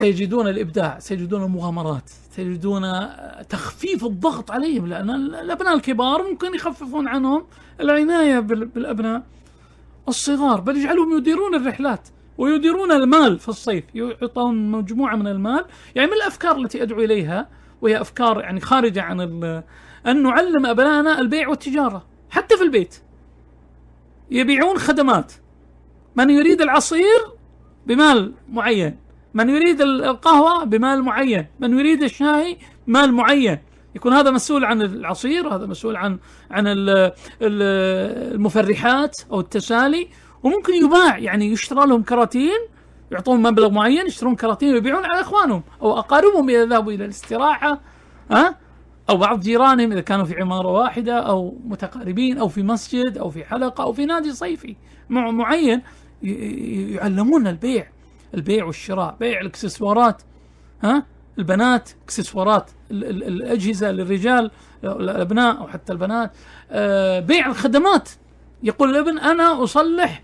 سيجدون الإبداع، سيجدون المغامرات، سيجدون تخفيف الضغط عليهم، لأن الأبناء الكبار ممكن يخففون عنهم العناية بالأبناء الصغار، بل يجعلهم يديرون الرحلات ويديرون المال في الصيف، يعطون مجموعة من المال. يعني من الأفكار التي أدعو إليها، وهي أفكار يعني خارجة عن أن نعلم أبنائنا البيع والتجارة حتى في البيت. يبيعون خدمات، من يريد العصير بمال معين، من يريد القهوة بمال معين، من يريد الشاي مال معين، يكون هذا مسؤول عن العصير، هذا مسؤول عن المفرحات أو التسالي. وممكن يباع، يعني يشترى لهم كراتين، يعطون مبلغ معين، يشترون كراتين ويبيعون على إخوانهم أو أقاربهم إذا ذهبوا إلى الاستراحة، أو بعض جيرانهم إذا كانوا في عمارة واحدة أو متقاربين أو في مسجد أو في حلقة أو في نادي صيفي معين، يعلمون البيع والشراء، بيع الإكسسوارات، البنات إكسسوارات الأجهزة للرجال الأبناء أو حتى البنات، بيع الخدمات. يقول الابن أنا أصلح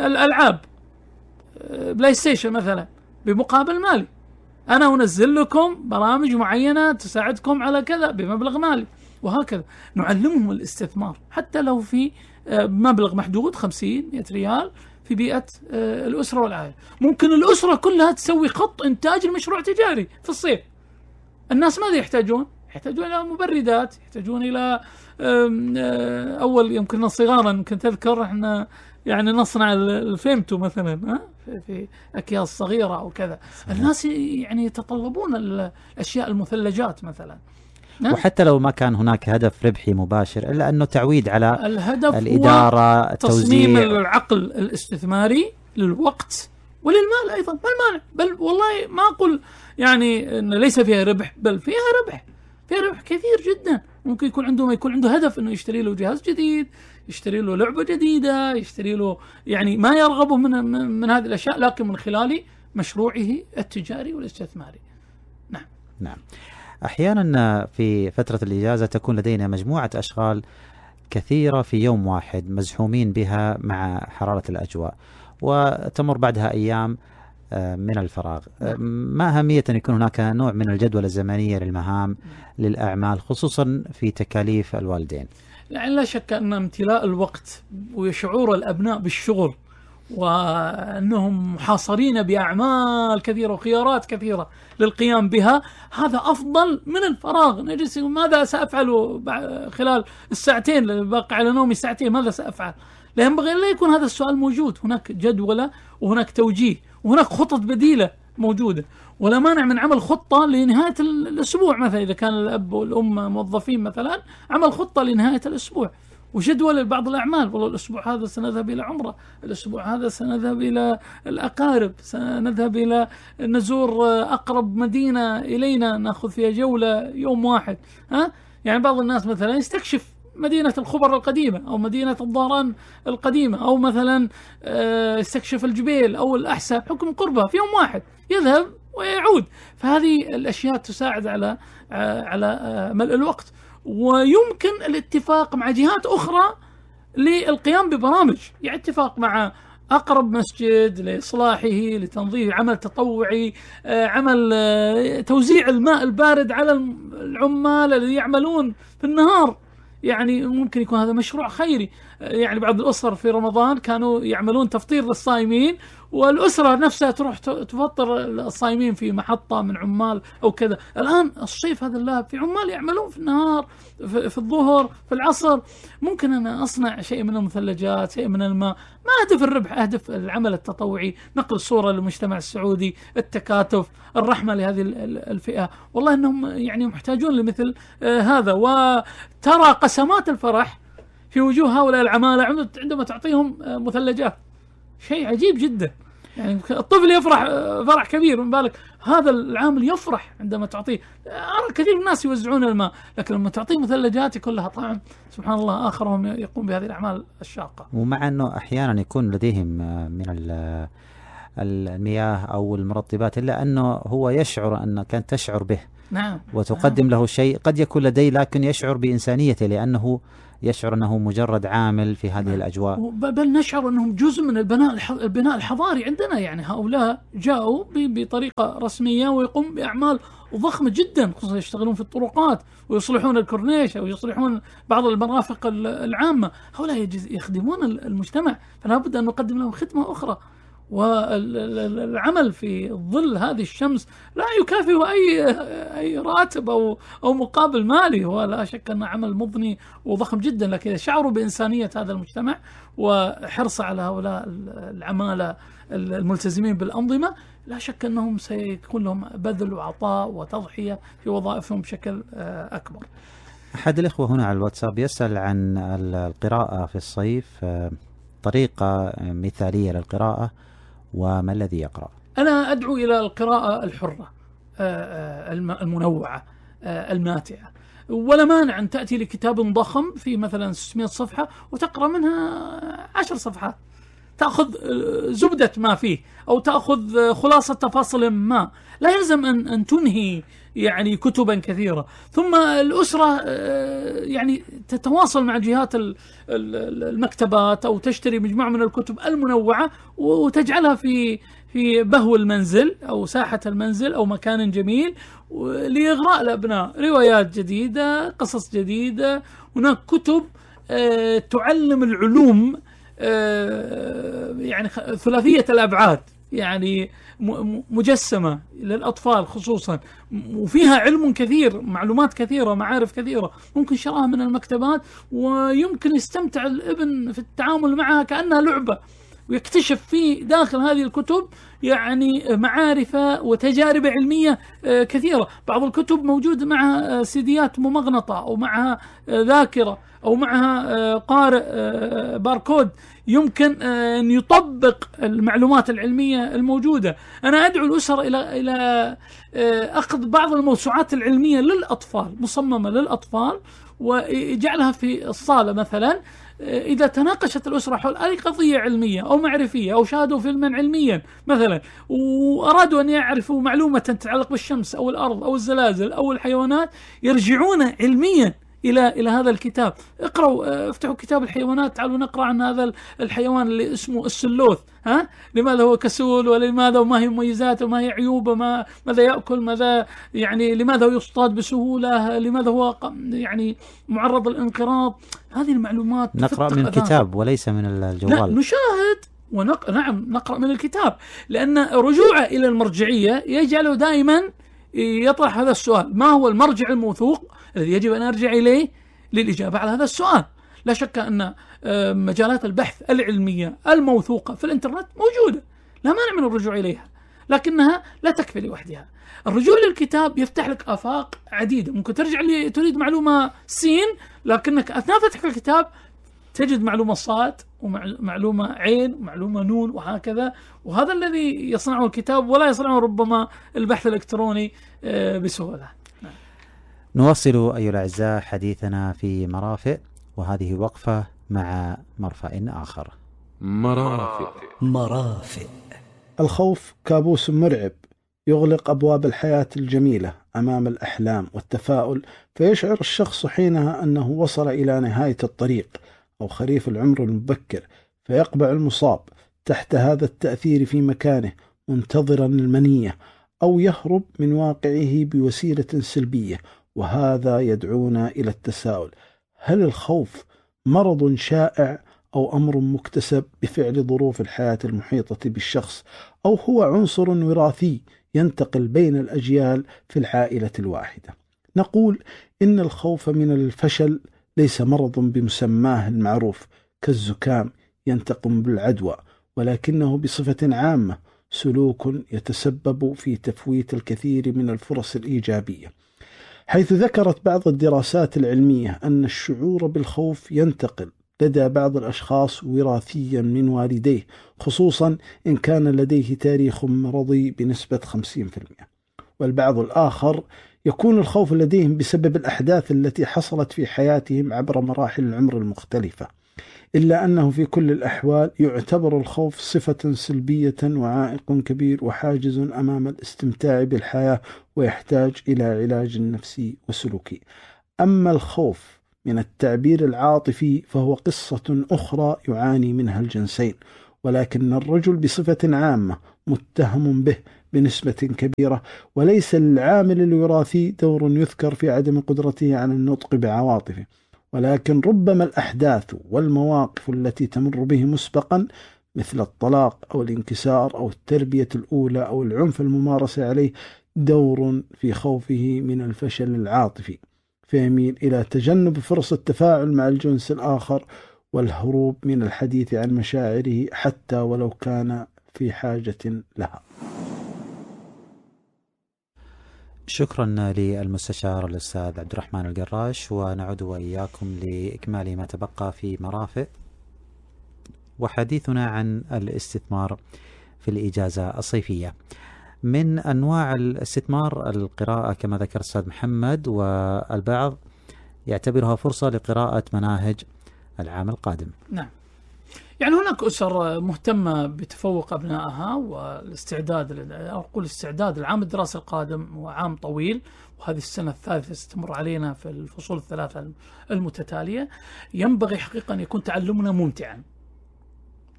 الألعاب بلاي ستيشن مثلا بمقابل مالي، أنا أنزل لكم برامج معينة تساعدكم على كذا بمبلغ مالي، وهكذا. نعلمهم الاستثمار حتى لو في مبلغ محدود 50-100 ريال في بيئة الأسرة والعائلة. ممكن الأسرة كلها تسوي خط إنتاج المشروع تجاري في الصيف. الناس ماذا يحتاجون؟ يحتاجون إلى مبردات، يحتاجون إلى أول يمكن صغارا، يمكن تذكر إحنا يعني نصنع الفيمتو مثلا في أكياس صغيرة أو كذا. الناس يعني يتطلبون الأشياء المثلجات مثلا، وحتى لو ما كان هناك هدف ربحي مباشر، إلا أنه تعويد على الهدف الإدارة، تصميم العقل الاستثماري للوقت وللمال أيضا. ما المانع؟ بل والله ما أقول يعني إن ليس فيها ربح، بل فيها ربح كثير جدا. ممكن يكون عنده هدف إنه يشتري له جهاز جديد، يشتري له لعبة جديدة، يشتري له يعني ما يرغبه من هذه الأشياء، لكن من خلال مشروعه التجاري والاستثماري. نعم. أحيانا في فترة الإجازة تكون لدينا مجموعة أشغال كثيرة في يوم واحد، مزحومين بها مع حرارة الأجواء، وتمر بعدها أيام من الفراغ. ما أهمية أن يكون هناك نوع من الجدول الزمنية للمهام للأعمال، خصوصا في تكاليف الوالدين؟ يعني لا شك أن امتلاء الوقت وشعور الأبناء بالشغل وأنهم محاصرين بأعمال كثيرة وخيارات كثيرة للقيام بها، هذا أفضل من الفراغ. نجلس ماذا سأفعل خلال الساعتين اللي باقي على نومي، ساعتين ماذا سأفعل؟ لا ينبغي أن لا يكون هذا السؤال موجود. هناك جدولة وهناك توجيه وهناك خطط بديلة موجودة، ولا مانع من عمل خطة لنهاية الأسبوع مثلا. إذا كان الأب والأم موظفين مثلا، عمل خطة لنهاية الأسبوع وجدول لبعض الأعمال. والله الأسبوع هذا سنذهب إلى عمرة، الأسبوع هذا سنذهب إلى الأقارب، سنذهب إلى نزور أقرب مدينة إلينا نأخذ فيها جولة يوم واحد. يعني بعض الناس مثلا يستكشف مدينة الخبر القديمة أو مدينة الظهران القديمة، أو مثلا يستكشف الجبيل أو الأحساء حكم قربها في يوم واحد، يذهب ويعود. فهذه الأشياء تساعد على ملء الوقت. ويمكن الاتفاق مع جهات أخرى للقيام ببرامج، يعني اتفاق مع أقرب مسجد لإصلاحه، لتنظيف، عمل تطوعي، عمل توزيع الماء البارد على العمال الذين يعملون في النهار. يعني ممكن يكون هذا مشروع خيري. يعني بعض الأسر في رمضان كانوا يعملون تفطير للصائمين، والأسرة نفسها تروح تفطر الصائمين في محطة من عمال أو كذا. الآن الصيف هذا اللهب في عمال يعملون في النهار، في الظهر، في العصر. ممكن أنا أصنع شيء من المثلجات، شيء من الماء. ما أهدف الربح، أهدف العمل التطوعي، نقل الصورة للمجتمع السعودي، التكاتف، الرحمة لهذه الفئة. والله أنهم يعني محتاجون لمثل هذا. وترى قسمات الفرح في وجوه هؤلاء العمالة عندما تعطيهم مثلجات، شيء عجيب جدا. يعني الطفل يفرح فرح كبير، من بالك هذا العامل يفرح عندما تعطيه. أرى كثير من الناس يوزعون الماء، لكن لما تعطيه مثلجات يكون لها طعم سبحان الله آخر، وهم يقوم بهذه الأعمال الشاقة. ومع أنه أحيانا يكون لديهم من المياه أو المرطبات، إلا أنه هو يشعر أن كانت تشعر به نعم. وتقدم له شيء قد يكون لديه لكن يشعر بإنسانيته لأنه يشعر أنه مجرد عامل في هذه الأجواء. بل نشعر أنهم جزء من البناء الحضاري عندنا. يعني هؤلاء جاءوا بطريقة رسمية ويقوم بأعمال ضخمة جدا، خصوصا يشتغلون في الطرقات ويصلحون الكورنيش أو يصلحون بعض المرافق العامة. هؤلاء يخدمون المجتمع، فلا بد أن نقدم لهم خدمة أخرى. والعمل في ظل هذه الشمس لا يكافئ أي راتب أو مقابل مالي، هو لا شك أنه عمل مضني وضخم جدا. لكن إذا شعروا بإنسانية هذا المجتمع وحرص على هؤلاء العمالة الملتزمين بالأنظمة، لا شك أنهم سيكون لهم بذل وعطاء وتضحية في وظائفهم بشكل أكبر. أحد الإخوة هنا على الواتساب يسأل عن القراءة في الصيف، طريقة مثالية للقراءة وما الذي يقرأ؟ أنا أدعو إلى القراءة الحرة المنوعة الماتعة، ولا مانع أن تأتي لكتاب ضخم في مثلا 600 صفحة وتقرأ منها 10 صفحات، تأخذ زبدة ما فيه أو تأخذ خلاصة تفاصيل ما، لا يلزم أن تنهي يعني كتبا كثيرة. ثم الأسرة يعني تتواصل مع جهات المكتبات أو تشتري مجموعة من الكتب المنوعة وتجعلها في بهو المنزل أو ساحة المنزل أو مكان جميل لإغراء الأبناء. روايات جديدة، قصص جديدة، هناك كتب تعلم العلوم يعني ثلاثية الأبعاد، يعني مجسمة للأطفال خصوصا، وفيها علم كثير، معلومات كثيرة، معارف كثيرة، ممكن شراها من المكتبات ويمكن يستمتع الابن في التعامل معها كأنها لعبة، ويكتشف في داخل هذه الكتب يعني معارف وتجارب علمية كثيرة. بعض الكتب موجود معها سيديات ممغنطة أو معها ذاكرة أو معها قارئ باركود يمكن أن يطبق المعلومات العلمية الموجودة. أنا أدعو الأسر إلى أخذ بعض الموسوعات العلمية للأطفال، مصممة للأطفال، وجعلها في الصالة مثلا. إذا تناقشت الأسرة حول أي قضية علمية أو معرفية أو شاهدوا فيلما علميا مثلا وأرادوا أن يعرفوا معلومة تتعلق بالشمس أو الأرض أو الزلازل أو الحيوانات، يرجعون علميا إلى هذا الكتاب. اقرأوا، افتحوا كتاب الحيوانات، تعالوا نقرأ عن هذا الحيوان اللي اسمه السلوث، لماذا هو كسول، ولماذا وما هي مميزاته وما هي عيوبه، ماذا يأكل، ماذا يعني لماذا هو يصطاد بسهولة، لماذا هو يعني معرض للانقراض. هذه المعلومات نقرأ من الكتاب وليس من الجوال. لا، نشاهد نعم نقرأ من الكتاب، لأن رجوعه إلى المرجعية يجعله دائما يطرح هذا السؤال: ما هو المرجع الموثوق الذي يجب أن أرجع إليه للإجابة على هذا السؤال؟ لا شك أن مجالات البحث العلمية الموثوقة في الإنترنت موجودة، لا مانع من الرجوع إليها، لكنها لا تكفي لوحدها. الرجوع للكتاب يفتح لك آفاق عديدة، ممكن ترجع تريد معلومة سين، لكنك أثناء فتح الكتاب تجد معلومة صاد ومعلومة عين ومعلومة نون وهكذا. وهذا الذي يصنعه الكتاب ولا يصنعه ربما البحث الإلكتروني بسهولة. نواصل أيها الأعزاء حديثنا في مرافئ، وهذه وقفة مع مرفأ آخر. مرافئ. الخوف كابوس مرعب يغلق أبواب الحياة الجميلة أمام الأحلام والتفاؤل، فيشعر الشخص حينها أنه وصل إلى نهاية الطريق أو خريف العمر المبكر، فيقبع المصاب تحت هذا التأثير في مكانه منتظرا المنية، أو يهرب من واقعه بوسيلة سلبية. وهذا يدعونا إلى التساؤل: هل الخوف مرض شائع أو أمر مكتسب بفعل ظروف الحياة المحيطة بالشخص، أو هو عنصر وراثي ينتقل بين الأجيال في العائلة الواحدة؟ نقول إن الخوف من الفشل ليس مرض بمسماه المعروف كالزكام ينتقم بالعدوى، ولكنه بصفة عامة سلوك يتسبب في تفويت الكثير من الفرص الإيجابية، حيث ذكرت بعض الدراسات العلمية أن الشعور بالخوف ينتقل لدى بعض الأشخاص وراثيا من والديه، خصوصا إن كان لديه تاريخ مرضي بنسبة 50%. والبعض الآخر يكون الخوف لديهم بسبب الأحداث التي حصلت في حياتهم عبر مراحل العمر المختلفة، إلا أنه في كل الأحوال يعتبر الخوف صفة سلبية وعائق كبير وحاجز أمام الاستمتاع بالحياة، ويحتاج إلى علاج نفسي وسلوكي. أما الخوف من التعبير العاطفي فهو قصة أخرى يعاني منها الجنسين، ولكن الرجل بصفة عامة متهم به بنسبة كبيرة، وليس للعامل الوراثي دور يذكر في عدم قدرته على النطق بعواطفه، ولكن ربما الأحداث والمواقف التي تمر به مسبقا مثل الطلاق أو الانكسار أو التربية الأولى أو العنف الممارس عليه دور في خوفه من الفشل العاطفي، فيميل إلى تجنب فرص التفاعل مع الجنس الآخر والهروب من الحديث عن مشاعره حتى ولو كان في حاجة لها. شكرا للمستشار الأستاذ عبد الرحمن القراش، ونعود وإياكم لإكمال ما تبقى في مرافق وحديثنا عن الاستثمار في الإجازة الصيفية. من أنواع الاستثمار القراءة كما ذكر الأستاذ محمد، والبعض يعتبرها فرصة لقراءة مناهج العام القادم. نعم، يعني هناك أسر مهتمة بتفوق أبنائها والاستعداد، أقول استعداد العام الدراسي القادم هو عام طويل، وهذه السنة الثالثة ستمر علينا في الفصول الثلاثة المتتالية. ينبغي حقيقة أن يكون تعلمنا ممتعا،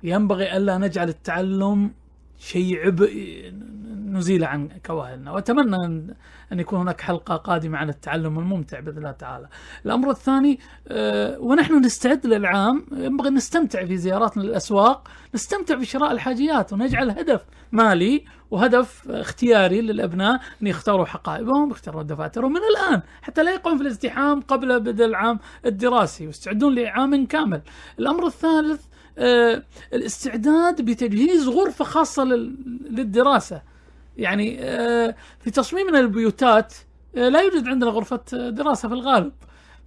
ينبغي ألا نجعل التعلم شيء عبء نزيل عن كواهلنا، وأتمنى أن يكون هناك حلقة قادمة عن التعلم الممتع بإذن الله تعالى. الأمر الثاني، ونحن نستعد للعام ينبغي نستمتع في زياراتنا للأسواق، نستمتع بشراء الحاجيات، ونجعل هدف مالي وهدف اختياري للأبناء أن يختاروا حقائبهم، يختاروا دفاترهم من الآن حتى لا يقعون في الازدحام قبل بدء العام الدراسي، ويستعدون لعام كامل. الأمر الثالث، الاستعداد بتجهيز غرفة خاصة للدراسة. يعني في تصميمنا البيوتات لا يوجد عندنا غرفة دراسة في الغالب،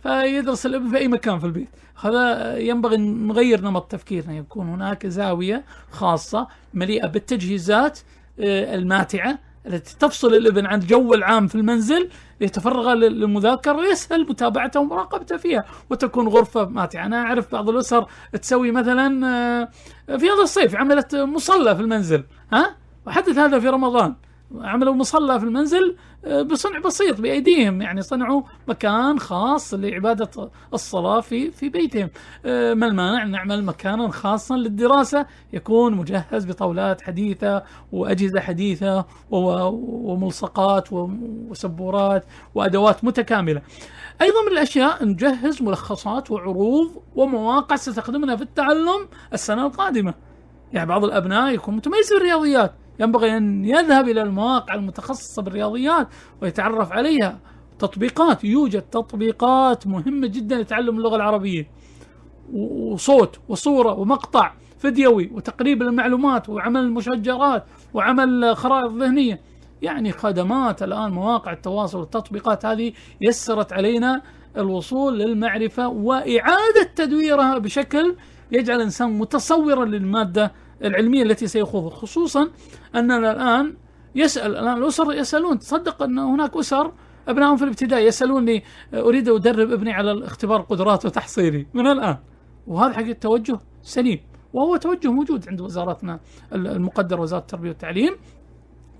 فيدرس الابن في أي مكان في البيت. هذا ينبغي نغير نمط تفكيرنا، يكون هناك زاوية خاصة مليئة بالتجهيزات الماتعة التي تفصل الابن عن الجو العام في المنزل ليتفرغ للمذاكرة ويسهل متابعته ومراقبته فيها، وتكون غرفة ماتعة. أنا أعرف بعض الأسر تسوي مثلا في هذا الصيف عملت مصلى في المنزل، وحدث هذا في رمضان، عملوا مصلى في المنزل بصنع بسيط بأيديهم، يعني صنعوا مكان خاص لعبادة الصلاة في بيتهم. ما المانع نعمل مكانا خاصا للدراسة يكون مجهز بطاولات حديثة وأجهزة حديثة وملصقات وسبورات وأدوات متكاملة. أيضا من الأشياء نجهز ملخصات وعروض ومواقع ستخدمنا في التعلم السنة القادمة. يعني بعض الأبناء يكون متميز بالرياضيات، ينبغي أن يذهب إلى المواقع المتخصصة بالرياضيات ويتعرف عليها. تطبيقات، يوجد تطبيقات مهمة جدا لتعلم اللغة العربية، وصوت وصورة ومقطع فيديوي وتقريب المعلومات وعمل المشجرات وعمل خرائط ذهنية. يعني خدمات الآن مواقع التواصل والتطبيقات هذه يسرت علينا الوصول للمعرفة وإعادة تدويرها بشكل يجعل الإنسان متصورا للمادة العلمية التي سيخوضها. خصوصا أننا الآن الأسر يسألون، تصدق أن هناك أسر أبنائهم في الابتدائي يسألوني أريد أدرب ابني على الاختبار قدرات وتحصيلي من الآن، وهذا حقيقة توجه سليم، وهو توجه موجود عند وزارتنا المقدرة وزارة التربية والتعليم،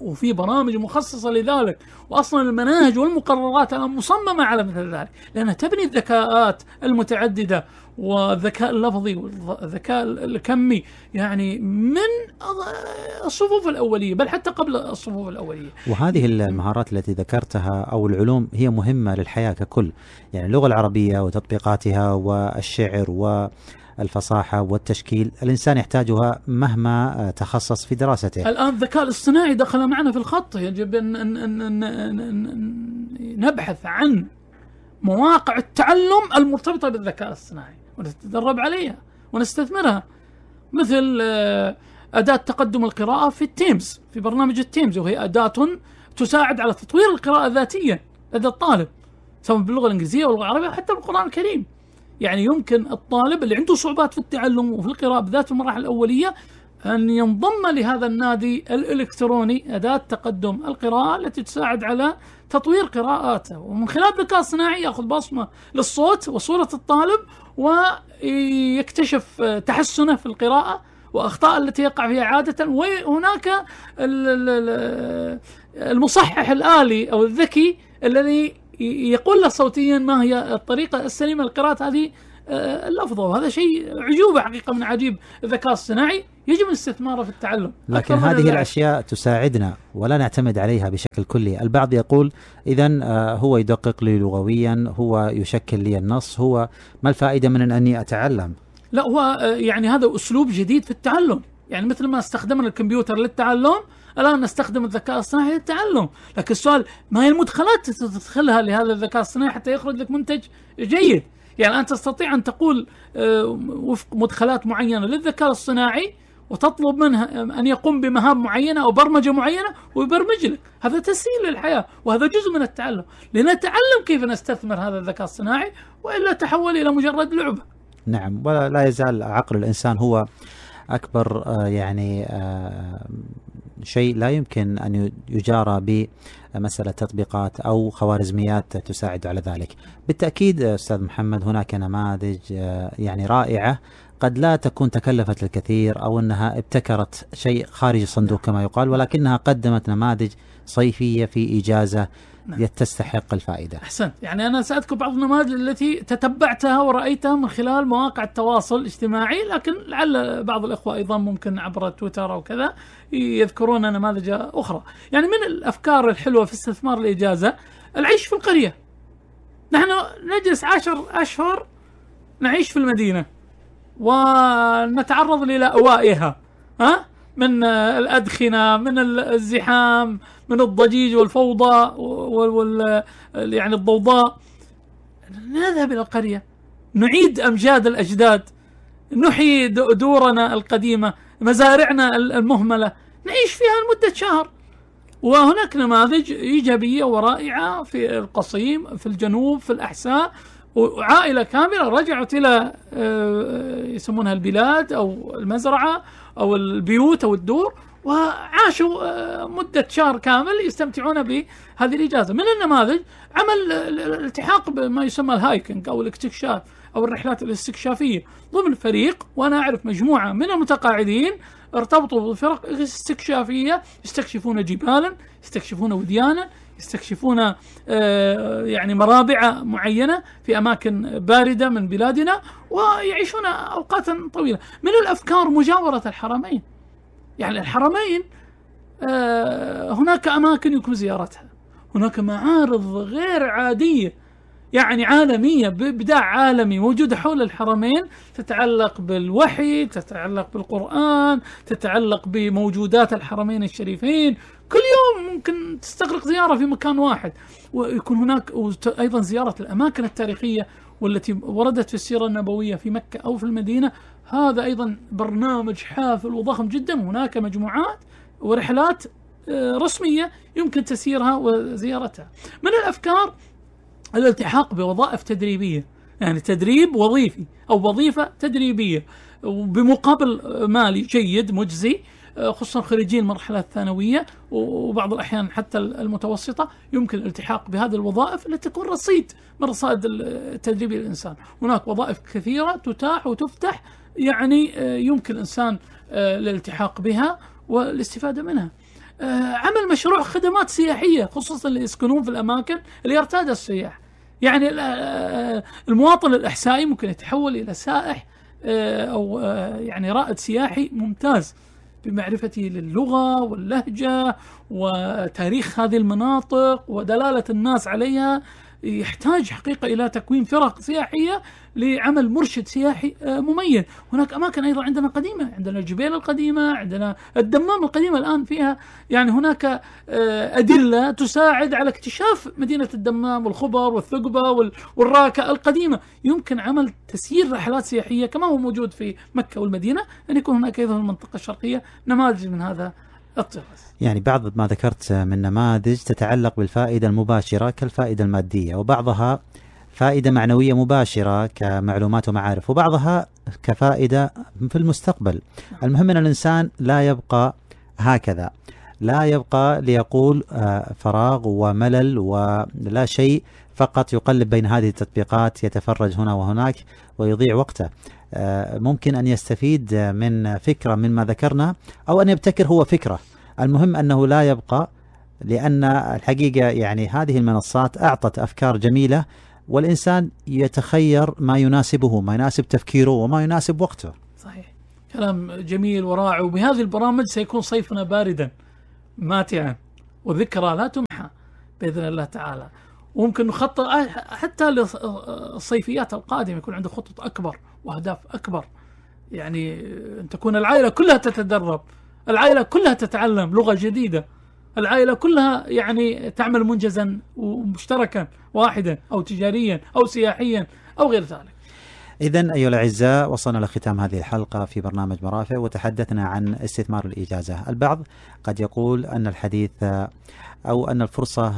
وفي برامج مخصصة لذلك، وأصلا المناهج والمقررات الآن مصممة على مثل ذلك، لأنها تبني الذكاءات المتعددة والذكاء اللفظي والذكاء الكمي، يعني من الصفوف الأولية بل حتى قبل الصفوف الأولية. وهذه المهارات التي ذكرتها أو العلوم هي مهمة للحياة ككل، يعني اللغة العربية وتطبيقاتها والشعر والفصاحة والتشكيل الإنسان يحتاجها مهما تخصص في دراسته. الآن الذكاء الاصطناعي دخل معنا في الخط، يجب أن نبحث عن مواقع التعلم المرتبطة بالذكاء الاصطناعي ونتدرب عليها ونستثمرها، مثل أداة تقدم القراءة في التيمز، في برنامج التيمز، وهي أداة تساعد على تطوير القراءة الذاتية لدى الطالب سواء باللغة الإنجليزية واللغة العربية حتى بالقرآن الكريم. يعني يمكن الطالب اللي عنده صعوبات في التعلم وفي القراءة بالذات في المراحل الأولية أن ينضم لهذا النادي الإلكتروني أداة تقدم القراءة التي تساعد على تطوير قراءاته، ومن خلال الذكاء الصناعي يأخذ بصمة للصوت وصورة الطالب ويكتشف تحسنه في القراءة وأخطاء التي يقع فيها عادة. وهناك المصحح الآلي أو الذكي الذي يقول له صوتيا ما هي الطريقة السليمة لقراءة هذه اللفظة، وهذا شيء عجوبة حقيقة من عجيب الذكاء الصناعي يجب الاستثمار في التعلم. لكن هذه الأشياء تساعدنا ولا نعتمد عليها بشكل كلي. البعض يقول إذن هو يدقق لي لغويا، هو يشكل لي النص، هو ما الفائدة من أني أتعلم؟ لا، هو يعني هذا أسلوب جديد في التعلم، يعني مثل ما استخدمنا الكمبيوتر للتعلم الآن نستخدم الذكاء الصناعي للتعلم. لكن السؤال ما هي المدخلات تدخلها لهذا الذكاء الصناعي حتى يخرج لك منتج جيد؟ يعني أنت تستطيع أن تقول وفق مدخلات معينة للذكاء الصناعي وتطلب منها أن يقوم بمهام معينة أو برمجة معينة ويبرمج لك. هذا تسهيل للحياة وهذا جزء من التعلم، لنتعلم كيف نستثمر هذا الذكاء الصناعي وإلا تحول إلى مجرد لعبة. نعم، ولا يزال عقل الإنسان هو أكبر يعني شيء لا يمكن أن يجارى بمسألة تطبيقات أو خوارزميات تساعد على ذلك. بالتأكيد أستاذ محمد هناك نماذج يعني رائعة قد لا تكون تكلفت الكثير أو أنها ابتكرت شيء خارج الصندوق كما يقال، ولكنها قدمت نماذج صيفية في إجازة تستحق الفائدة. أحسنت. يعني أنا سأذكر بعض النماذج التي تتبعتها ورأيتها من خلال مواقع التواصل الاجتماعي، لكن لعل بعض الإخوة أيضا ممكن عبر تويتر أو كذا يذكرون نماذج أخرى. يعني من الأفكار الحلوة في استثمار الإجازة العيش في القرية. نحن نجلس 10 أشهر نعيش في المدينة ونتعرض لأوائها من الأدخنة، من الزحام، من الضجيج والفوضى يعني الضوضاء. نذهب إلى القرية، نعيد أمجاد الأجداد، نحيي دورنا القديمة، مزارعنا المهملة، نعيش فيها لمدة شهر. وهناك نماذج إيجابية ورائعة في القصيم، في الجنوب، في الأحساء، وعائلة كاملة رجعت إلى يسمونها البلاد أو المزرعة أو البيوت أو الدور، وعاشوا مدة شهر كامل يستمتعون بهذه الإجازة. من النماذج عمل الالتحاق بما يسمى الهايكنج أو الاستكشاف أو الرحلات الاستكشافية ضمن فريق. وأنا أعرف مجموعة من المتقاعدين ارتبطوا بفرق استكشافية يستكشفون جبالا، يستكشفون وديانا، يستكشفون يعني مرابع معينة في أماكن باردة من بلادنا، ويعيشون أوقاتا طويلة. من الأفكار مجاورة الحرمين. يعني الحرمين هناك أماكن يمكن زيارتها، هناك معارض غير عادية يعني عالمية بإبداع عالمي موجودة حول الحرمين، تتعلق بالوحي، تتعلق بالقرآن، تتعلق بموجودات الحرمين الشريفين. كل يوم ممكن تستغرق زيارة في مكان واحد، ويكون هناك أيضا زيارة الأماكن التاريخية والتي وردت في السيرة النبوية في مكة أو في المدينة. هذا أيضا برنامج حافل وضخم جدا. هناك مجموعات ورحلات رسمية يمكن تسيرها وزيارتها. من الأفكار الالتحاق بوظائف تدريبية، يعني تدريب وظيفي أو وظيفة تدريبية بمقابل مالي جيد مجزي، خصوصا خريجين المرحلة الثانوية وبعض الأحيان حتى المتوسطة. يمكن الالتحاق بهذه الوظائف التي تكون رصيد من رصائد التدريب للإنسان. هناك وظائف كثيرة تتاح وتفتح، يعني يمكن الإنسان الالتحاق بها والاستفادة منها. عمل مشروع خدمات سياحية خصوصا اللي يسكنون في الأماكن اللي يرتاد السياح. يعني المواطن الأحسائي ممكن يتحول إلى سائح أو يعني رائد سياحي ممتاز بمعرفته للغة واللهجة وتاريخ هذه المناطق ودلالة الناس عليها. يحتاج حقيقة إلى تكوين فرق سياحية لعمل مرشد سياحي مميز. هناك أماكن أيضا عندنا قديمة، عندنا الجبيل القديمة، عندنا الدمام القديمة الآن فيها يعني هناك أدلة تساعد على اكتشاف مدينة الدمام والخبر والثقبة والراكة القديمة. يمكن عمل تسيير رحلات سياحية كما هو موجود في مكة والمدينة، أن يكون هناك أيضا في المنطقة الشرقية نماذج من هذا الطراز. يعني بعض ما ذكرت من نماذج تتعلق بالفائدة المباشرة كالفائدة المادية، وبعضها فائدة معنوية مباشرة كمعلومات ومعارف، وبعضها كفائدة في المستقبل. المهم أن الإنسان لا يبقى هكذا، لا يبقى ليقول فراغ وملل ولا شيء، فقط يقلب بين هذه التطبيقات، يتفرج هنا وهناك ويضيع وقته. ممكن أن يستفيد من فكرة مما ذكرنا، أو أن يبتكر هو فكرة. المهم أنه لا يبقى، لأن الحقيقة يعني هذه المنصات أعطت أفكار جميلة، والإنسان يتخير ما يناسبه، ما يناسب تفكيره وما يناسب وقته. صحيح، كلام جميل ورائع. وبهذه البرامج سيكون صيفنا باردا ماتعا، وذكرى لا تمحى بإذن الله تعالى. وممكن نخطط حتى للصيفيات القادمة، يكون عنده خطط أكبر وأهداف أكبر، يعني أن تكون العائلة كلها تتدرب، العائلة كلها تتعلم لغة جديدة، العائلة كلها يعني تعمل منجزا ومشتركا واحدا أو تجاريا أو سياحيا أو غير ذلك. إذن أيها الأعزاء، وصلنا لختام هذه الحلقة في برنامج مرافق، وتحدثنا عن استثمار الإجازة. البعض قد يقول أن الحديث أو أن الفرصة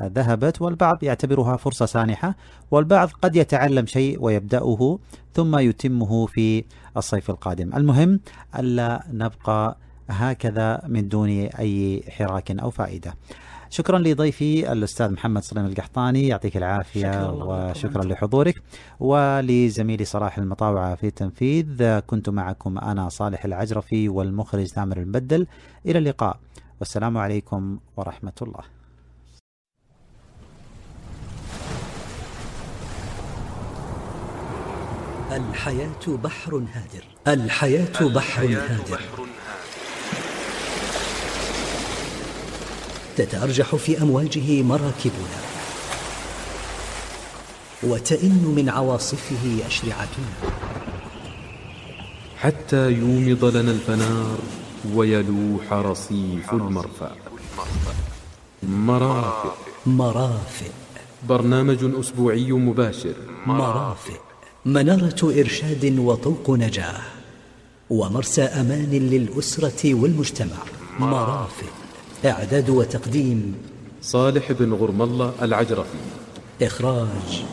ذهبت، والبعض يعتبرها فرصة سانحة، والبعض قد يتعلم شيء ويبدأه ثم يتمه في الصيف القادم. المهم ألا نبقى هكذا من دون أي حراك أو فائدة. شكرا لضيفي الأستاذ محمد سليم القحطاني، يعطيك العافية، وشكرا لحضورك، ولزميلي صلاح المطاوعة في التنفيذ. كنت معكم أنا صالح العجرفي والمخرج ثامر المبدل. إلى اللقاء، والسلام عليكم ورحمة الله. الحياة بحر هادر، الحياة بحر هادر، تتأرجح في أمواجه مراكبنا، وتئن من عواصفه أشرعتنا، حتى يومض لنا الفنار ويلوح رصيف المرفأ. مرافق، مرافق، برنامج أسبوعي مباشر. مرافق، منارة إرشاد وطوق نجاة، ومرسى أمان للأسرة والمجتمع. مرافق، إعداد وتقديم صالح بن غرم الله العجرفي، إخراج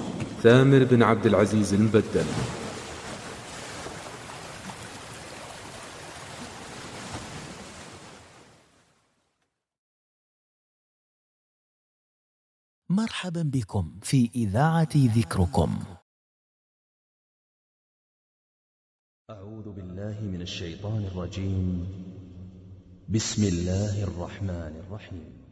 ثامر بن عبد العزيز المبدل. مرحبا بكم في إذاعة ذكركم. أعوذ بالله من الشيطان الرجيم. بسم الله الرحمن الرحيم.